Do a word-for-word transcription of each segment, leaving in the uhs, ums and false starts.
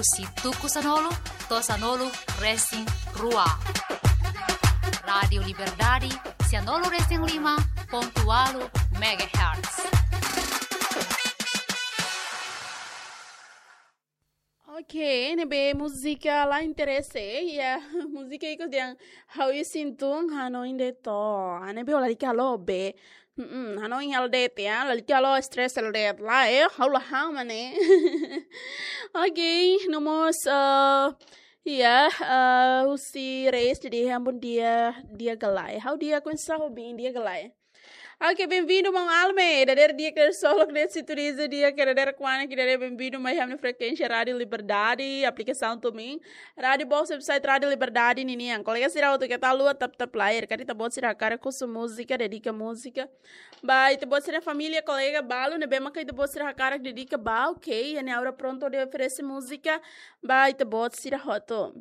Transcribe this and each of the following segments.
Husi tuku sanulu to'o sanulu resin rua. Rádiu Liberdade, sanulu resin lima pontu ualu megahertz. Oke, ne'ebé múzika la interese, ya, múzika ikus dehan ha'u isin tun hanoin de'it. Ne'ebé lalika halo be. Mm, hanoin hela de'it ya, lalika halo stress hela de'it. Lae, ha'u la han mane. Oke, no mós, eh, ya, eh, husi Reis, jadi ha'u bom dia, di'ak ka lae. Ha'u di'ak, oinsá ho bin, di'ak ka lae. Oke, benvindu, maun Alme. Dadeer di'ak, dadeer solok, dadeer sintoniza di'ak, dadeer kuana ki dadeer, benvindu mai iha ami-nia frekuénsia Rádiu Liberdade, aplikasaun Tumin, Rádiu Box, website Rádiu Liberdade ninian. Kolega sira hotu, keta haluha tap-tap layar, karik ita-boot sira hakarak husu múzika, dedika múzika ba ita-boot sira família, kolega balu ne'ebé maka ita-boot sira hakarak dedika ba, oke, iha ne'e Aura prontu hodi oferese múzika ba ita-boot sira hotu.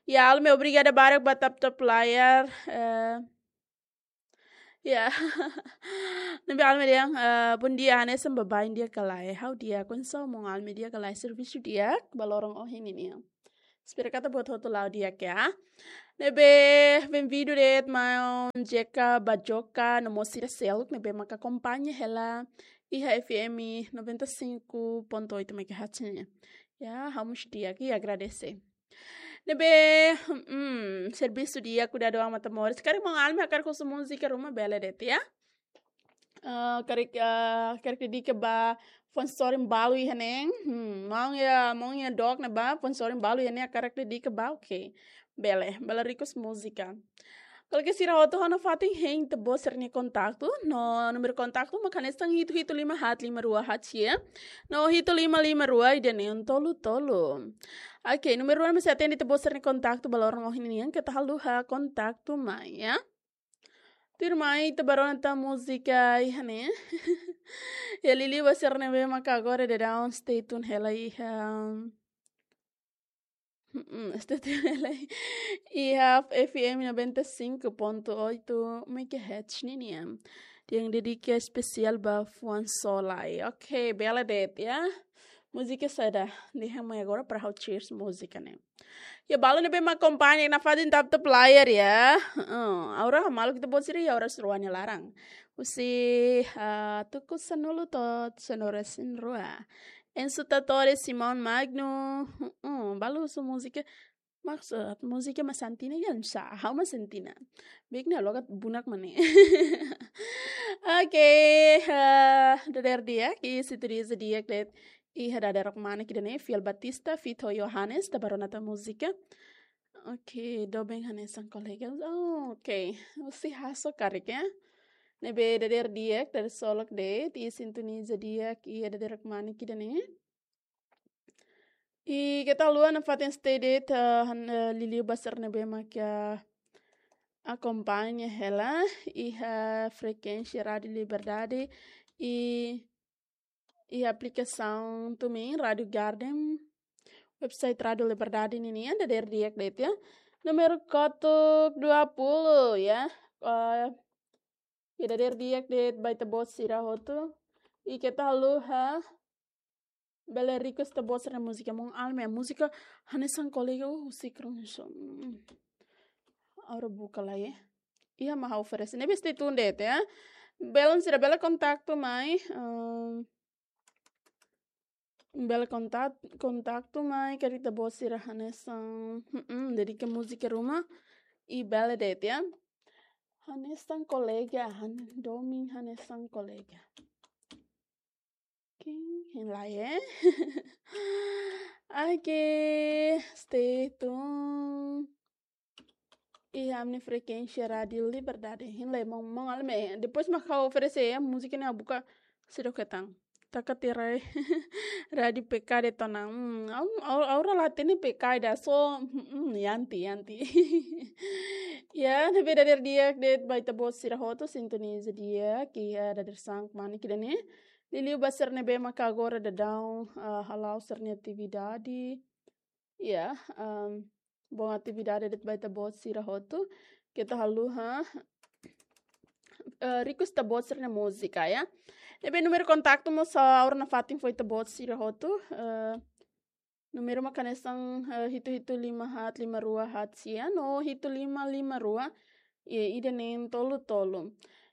Ya, Alme, obrigada barak ba tap-tap layar. Eh, ya. Ne'ebé Alme dehan, eh, bom dia, hanesan baibain di'ak ka lae. Ha'u di'ak, oinsá ho maun Alme, di'ak ka lae, servisu di'ak ba loron ohin ninian. Espera katak ita-boot hotu la'o di'ak ya. Ne'ebé benvindu de'it maun Jeka Bajoka, no mós sira seluk ne'ebé maka akompaña hela iha F M noventa e cinco ponto oito megahertz nian. Ya, ha'u mós di'ak, i agradese. Ne'ebé, mm, servisu di'ak, kuidadu an, mata moris. Karik maun Alme hakarak husu múzika ruma, bele de'it ya. Eh, karik, eh, karik dedika ba fuan sorin balu iha ne'e. Hmm, maun iha, maun iha dook ne'ebá, fuan sorin balu iha ne'e hakarak dedika ba, oke. Bele, bele request múzika. Kolega sira hotu, ha'u nafatin hein ita-boot sira-nia kontaktu, no númeru kontaktu mak hanesan hitu hitu lima haat lima rua haat sia, no hitu lima lima rua ida neen tolu tolu. Oke, númeru rua mak sei atende ita-boot sira-nia kontaktu ba loron ohin nian, keta haluha kontaktu mai ya. Tuirmai ita bá rona tan múzika iha ne'e. Ya, liuliu ba sira ne'ebé maka agora daudaun stay tune hela iha, mm, stay tune hela iha F M noventa e cinco ponto oito megahertz ninian. Dehan dedika espesiál ba fuan só lai. Oke, bele de'it ya. Múzika saida? Dehan mai agora para ha'u cheers múzika ne'e. Ya, balu ne'ebé mak akompaña nafatin tap-tap layar ya. Heeh, Aura, maluk ita-boot sira iha Aura Suruania laran. Husi, ah, tuku sanulu to'o sanulu resin rua. Ensu Tatore, Simão Magno. Heeh, balu husu múzika. Maksud, múzika mak santi ona, ya, oinsá, ha'u mak santi ona. Bik na logat bunak mane. Oke, eh, dadeer di'ak, i sintoniza di'ak de'it iha dadeer-dadeer mak ne'e, ida-ne'e Fiel Batista feat Johannes, ita bá rona tan múzika. Oke, doben hanesan kolega. Oh, oke, husi Haso karik ya. Ne'ebé dadeer di'ak, dadeer solok de'it, i sintoniza di'ak iha dadeer-dadeer mak ne'e, ida-ne'e. I keta haluha nafatin stay de'it, eh, han, eh, liuliu ba sira ne'ebé maka akompaña hela iha frekuénsia Rádiu Liberdade i, i aplikasaun Tumin, Rádiu Garden, website Rádiu Liberdade ninian, dadeer di'ak de'it ya. Númeru kotuk dua puluh ya. Eh, ya, dadeer di'ak de'it ba ita-boot sira hotu. I keta haluha bele request ita-boot sira-nia múzika. Maun Alme, múzika hanesan kolega, uh, husik ruma so. Hmm. Aura buka lai ya. Iha mak ha'u oferese. Ne'ebé stay tune de'it ya. Belun sira bele kontaktu mai. Ehm, bele kontak-, kontaktu mai, karik ita-boot sira hanesan, mm-mm, dedika múzika ruma, i bele de'it ya. Hanesan kolega, han-, domin hanesan kolega. Oke, hein lai ya. Oke, stay tune iha ami-nia frekuénsia Rádiu Liberdade. Hein lai maun, maun Alme. Depois mak ha'u oferese ya, múzika ne'e ha'u buka seidauk hetan. Taka tirai Rádiu P K de'it ona. Hmm, au, au, Aura la hatene P K ida so, hmm, hmm, yanti, yanti. Ya, ne'ebé dadeer di'ak de'it ba ita-boot sira hotu, sintoniza di'ak iha dadeer-saan mak ne'e, ida-ne'e. Liuliu ba sira ne'ebé maka agora daudaun, ah, hala'o sira-nia atividade. Ya, em, bom atividade de'it ba ita-boot sira hotu. Keta haluha, eh, request ita-boot sira-nia múzika ya. Ne'ebé númeru kontaktu mós, ah, Aura nafatin fó ita-boot sira hotu. Eh, Númeru mak hanesan, eh, hitu hitu lima haat lima rua haat sia no hitu lima lima rua, i ida neen tolu tolu.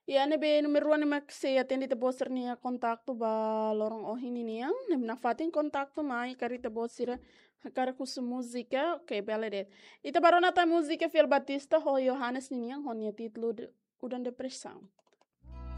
I ne'ebé númeru rua ne'e mak sei atende ita-boot sira-nia kontaktu ba loron ohin ninian, ne'e nafatin kontaktu mai karik ita-boot sira hakarak husu múzika, oke, bele de'it. Ita bá rona tan múzika Fiel Batista ho Johannes ninian ho nia títulu de-, Udan Depresaun.